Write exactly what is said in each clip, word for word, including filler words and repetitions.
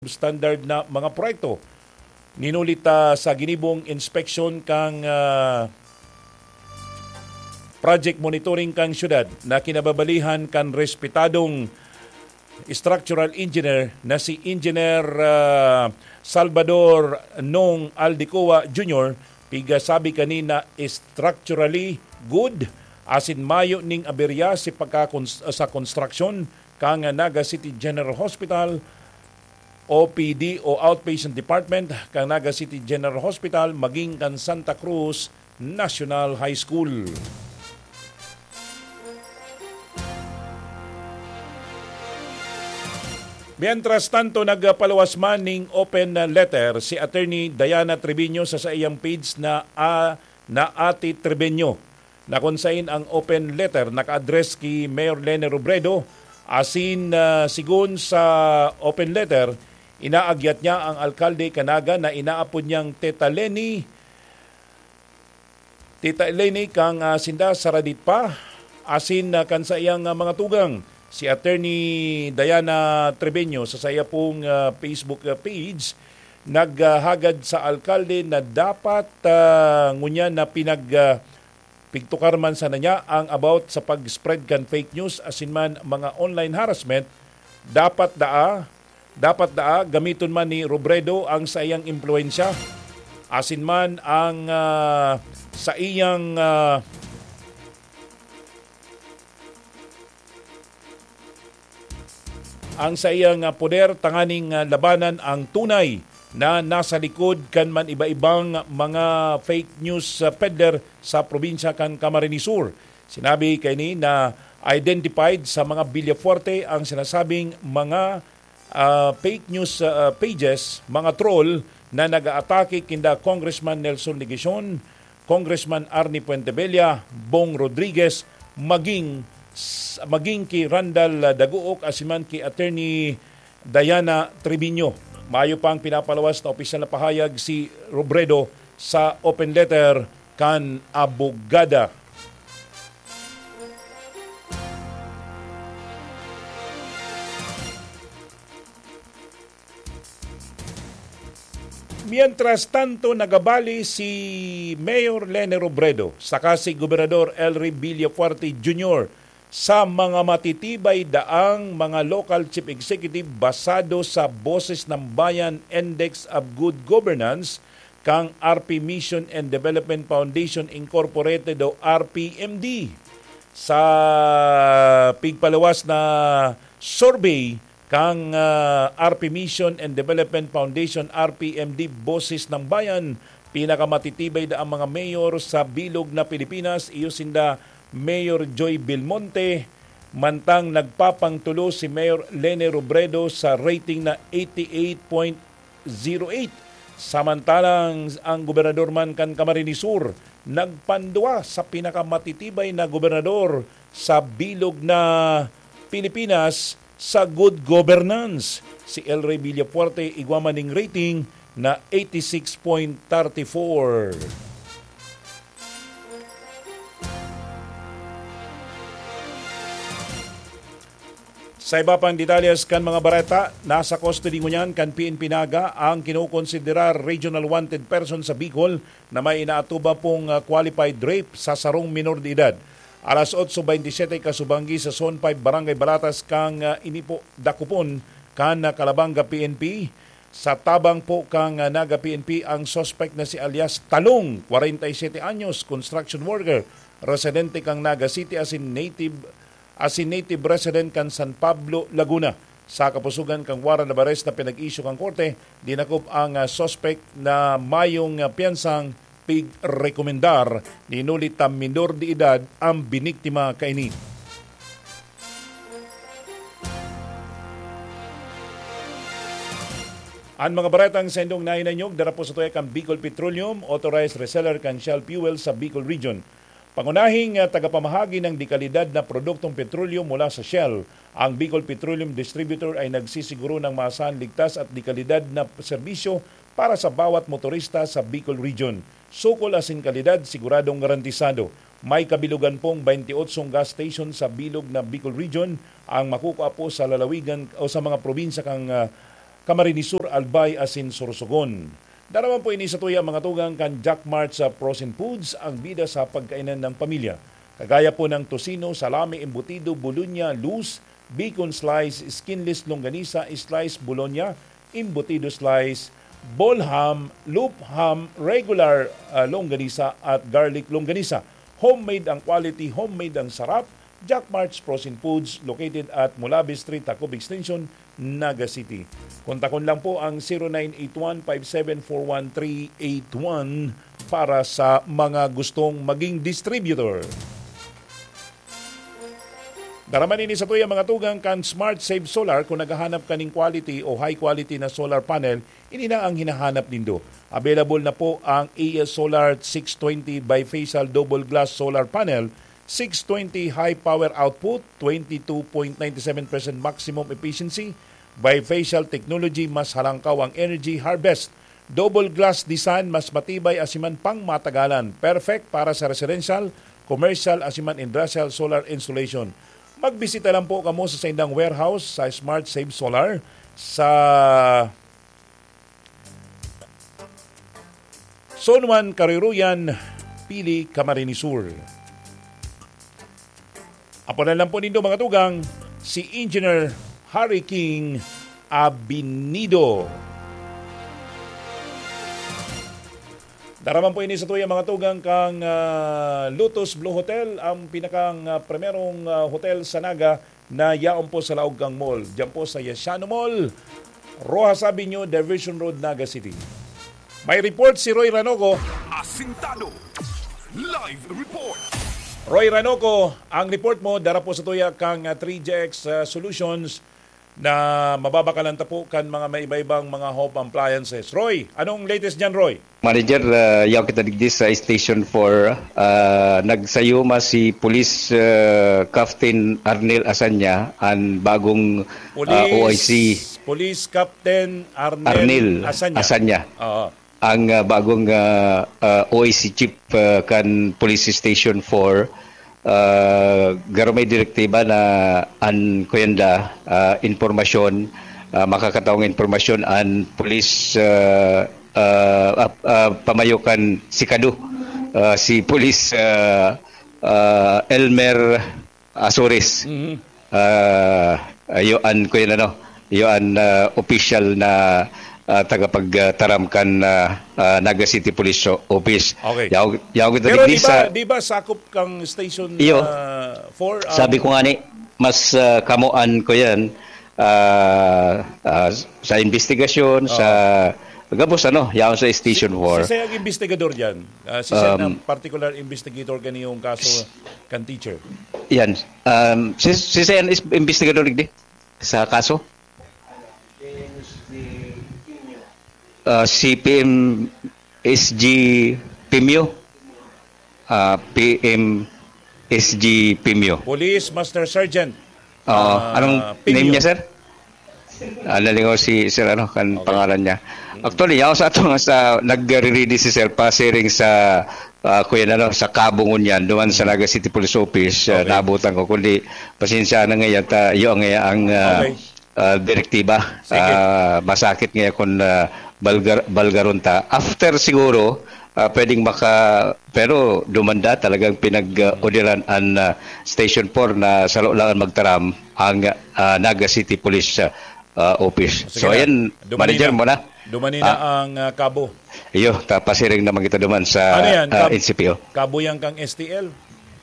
substandard na mga proyekto. Ninuli ta sa ginibong inspeksyon kan, ah, project monitoring kan syudad na kinababalihan kan respetadong structural engineer na si Engineer, ah, Salvador Nong Aldecoa Junior, pigasabi kanina structurally good asin mayo ning aberya si pagkakons-, sa konstruksyon kan Naga City General Hospital, O P D o Outpatient Department kan Naga City General Hospital, maging kan Santa Cruz National High School. Mientras tanto, nagpaluwas man ning open letter si Attorney Diana Treviño sa saiyang page na, ah, na Ate Treviño, na kun sain ang open letter naka-address ki Mayor Leni Robredo, asin, ah, sigon sa open letter, inaagyat niya ang alkalde kan Naga na inaapod niyang Teta Leni, Tita Eleni, kan, ah, sinda saradit pa, asin, ah, kan saiyang, ah, mga tugang, si Attorney Diana Treviño, sa saiya pong, ah, Facebook, ah, page, naghagad sa alkalde na dapat, ah, ngunyan na pinag-, ah, pigtukar man sana niya ang about sa pag-spread kan fake news asin man mga online harassment, dapat daa Dapat daa gamiton man ni Robredo ang saiyang impluwensya, asin man ang, ah, saiyang, ah, ang saiyang, ah, poder tanganing, ah, labanan ang tunay na nasa likod kan man iba-ibang mga fake news, ah, peddler sa probinsya kan Camarines Sur. Sinabi kaini na identified sa mga Villafuerte ang sinasabing mga ah, fake news, ah, pages, mga troll na nag-aatake kinda Congressman Nelson Legacion, Congressman Arnie Fuentebella, Bong Rodriguez, maging s-, maging ki Randal, ah, Daguok asin man ki Attorney Diana Treviño. Mayo pang pinapalawas na opisyal na pahayag si Robredo sa open letter kan abogada. Mientras tanto, nagabali si Mayor Leni Robredo saka si Gobernador Elry Villafuerte Junior sa mga matitibay daang mga local chief executive basado sa Boses ng Bayan Index of Good Governance kan R P Mission and Development Foundation Incorporated o R P M D. Sa pigpaluwas na survey kan, ah, R P Mission and Development Foundation, R P M D, Boses ng Bayan, pinakamatitibay na ang mga mayor sa bilog na Pilipinas, iyo sinda Mayor Joy Belmonte, mantang nagpapangtulo si Mayor Leni Robredo sa rating na eighty-eight point zero eight. Samantalang ang gobernador man kan Camarines Sur, nagpandua sa pinakamatitibay na gobernador sa bilog na Pilipinas sa good governance, si Elry Villafuerte, igwa man ning rating na eighty-six point thirty-four. Sa iba pang detalyes kan mga bareta, nasa custody ngunyan kan P N P Naga ang kinokonsiderar regional wanted person sa Bicol na may inaatuba pong, ah, qualified rape sa sarong minor de edad. Alas otso beintisiyete kasubanggi sa Zone five, Barangay Balatas kan, ah, Inipo, Dakupon kan, ah, Calabanga P N P. Sa tabang po kan, ah, Naga P N P, ang suspect na si alias Talong, kwarenta y siyete anyos, construction worker, residente kan Naga City asin native asin native resident kan San Pablo, Laguna. Sa kapusogan kan warrant of arrest na pinag-issue kan korte, dinakop ang, ah, suspect na mayong, ah, piyansang pigrekomendar. Ninuli ta minor de edad ang biniktima kaini. An mga baretang saindong nahinanyog, dara po sa tuya kan Bicol Petroleum, authorized reseller kan Shell Fuel sa Bicol Region. Pangunahing, ah, tagapamahagi ng dekalidad na produktong petrolyo mula sa Shell, ang Bicol Petroleum Distributor ay nagsisiguro ng maasahan, ligtas at dekalidad na serbisyo para sa bawat motorista sa Bicol Region. Sukol asin kalidad, siguradong garantisado. May kabilugan pong baynti otsong gas station sa bilog na Bicol Region ang makukua po sa lalawigan o sa mga probinsya kan, ah, Camarines Sur, Albay asin Sorsogon. Daraman po ini sa tuya, mga tugang, kan Jack Mart sa Frozen Foods, ang bida sa pagkainan ng pamilya. Kagaya po ng tocino, salami, embutido, bolonya, loose, bacon slice, skinless longganisa, slice bologna, embutido slice, ball ham, loop ham, regular, ah, longganisa at garlic longganisa. Homemade ang quality, homemade ang sarap. Jack Mart's Frozen Foods, located at Mulabi Street, Tacob Extension, Naga City. Kontakon lang po ang zero nine eight one five seven four one three eight one para sa mga gustong maging distributor. Daraman ini sa tuya, mga tugang, kan Smart Save Solar. Kung naghahanap ka ning quality o high quality na solar panel, ini na ang hinahanap nindo. Available na po ang A S Solar six twenty bifacial double glass solar panel, six twenty high power output, twenty two point nine seven percent maximum efficiency, bifacial technology, mas halangkaw ang energy harvest, double glass design, mas matibay asin man pang matagalan. Perfect para sa residential, commercial, asin man industrial solar installation. Magbisita lang po kamo sa saindang warehouse sa Smart Save Solar sa Zone one, Karuruyan, Pili, Camarines Sur. Aponan lang po nindo, mga tugang, si Engineer Harry King Abinido. Daraman po ini sa tuya, mga tugang, kang, ah, Lotus Blue Hotel, ang pinakang, ah, primerong, ah, hotel sa Naga na yaon po sa laog kang mall. Diyan po sa Yasiano Mall, Roxas Avenue, Diversion Road, Naga City. May report si Roy Ranoco. Asintado. Live report. Roy Ranoco, ang report mo, dara po sa tuya kang, ah, three G X, ah, Solutions na mababakalan ta po kan mga maiba-ibang mga home appliances. Roy, anong latest diyan, Roy? Manager, ah, yaw kita digdi sa Station four. Ah, nagsayuma si Police, ah, Captain Arnel Asanya, an bagong, ah, Police, O I C. Police Captain Arnel Arnel Asanya. Asanya. Oo. Ang, ah, bagong, ah, ah, O I C chief, ah, kan Police Station four, ah, garo may direktiba na an kuyanda, ah, impormasyon, ah, makakataong impormasyon an pulis, ah, ah, ah, ah, pamayo kan sikado, ah, si Pulis, ah, ah, Elmer Azores. Mhm. Ah, iyo an, kuya, ano, iyo an, ah, opisyal na, ah, tagapagtaram kan, ah, ah, Naga City Police O-, Office. Okay. Yaw, yaw kita Pero digdi di ba, sa di ba sakop kang station, Iyo. ah, four, ah, Sabi ko nga ni, mas, ah, kamo an, kuya, ah, ah, sa investigasyon, Oo. sa gabos, ano, yaon sa Station Si, four. si Sir ang investigador diyan. Ah, si Sir Um, ang particular investigator kaniyong kaso kan teacher. Yan. Um, si, si Sir is investigador digdi sa kaso. Ah, si P M S G Pimio. Ah, P M S G Pimio. Police Master Sergeant, Oo. ah, Anong Pimio. name niya, sir? Ah, nalingaw si sir, ano, kan Okay. pangalan niya. Mm. Actually, yaw sa ato nga sa nagre-ready si sir, pasiring sa, ah, kuya, ano, sa Cabo ngunyan, duman sa Mm. Naga City Police Office, ah, Okay. naabutan ko. Kundi, pasensya na ngayon, ta, iyo ang, ang, ah, Okay. ah, direktiba. Sige. Ah, masakit ngayon kung, ah, balgar-, balgaron ta. After siguro, ah, pwedeng maka-, pero dumanda talagang pinag-, ah, odiran an, ah, Station four na salo lang an magtaram ang, ah, Naga City Police, ah, ah, Office. Sige So, na. ayan, Dumani manager na. mo na. Dumani na Ah. ang, ah, Cabo. Iyo, tapasiring naman kita duman sa, Ano yan? ah, Cab-, N C P O. Cabo yan kang S T L?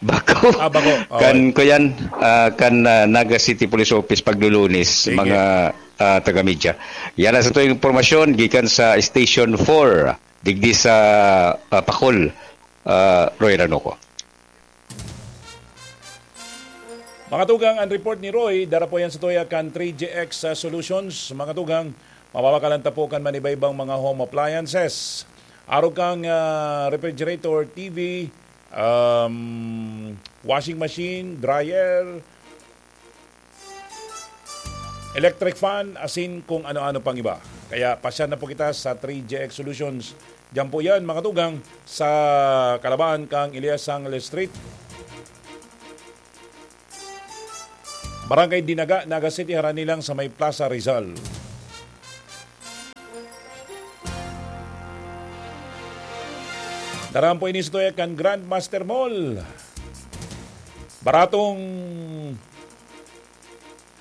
Bako. Ah, bako. Oh, Kan, okay. kuyan, ah, kan, ah, Naga City Police Office paglulunis, Sige. mga, ah, taga-media. Yan ang sa tuwing impormasyon, gikan sa Station four, digdi sa, ah, Pacol, ah, Roy Ranoco. Mga tugang, ang report ni Roy, dara po yan sa tuya kan three G X, ah, Solutions. Mga tugang, mababakalan ta po kan manibaybang mga home appliances. Arog kang, ah, refrigerator, T V, um, washing machine, dryer, electric fan, asin kung ano-ano pang iba. Kaya pasyal na po kita sa three G X Solutions. Diyan po yan, mga tugang, sa Kalaban kang Elias Sangles Street, Barangay Dinaga, Naga City, harani lang sa may Plaza Rizal. Taram po ini sa tuya kan Grandmaster Mall. Baratong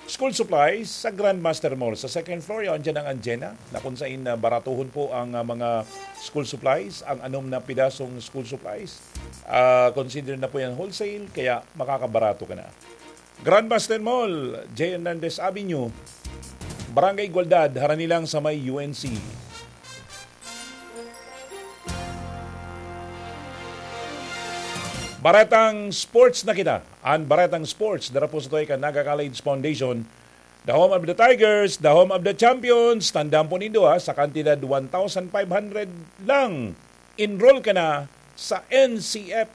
school supplies sa Grandmaster Mall. Sa second floor, yan dyan ang Anjena, na kung saan na baratuhon po ang ah, mga school supplies, ang anom na pidasong school supplies. Ah, consider na po yan wholesale, kaya makakabarato ka na. Grandmaster Mall, J. Hernandez Avenue, Barangay Igualdad, harani lang sa may U N C. Baretang Sports na kita. An Baretang Sports, dara po sa tuya kan Naga College Foundation. The home of the Tigers, the home of the champions. Tandaan po nindo ha, sa kantidad one thousand five hundred lang, enroll ka na sa N C F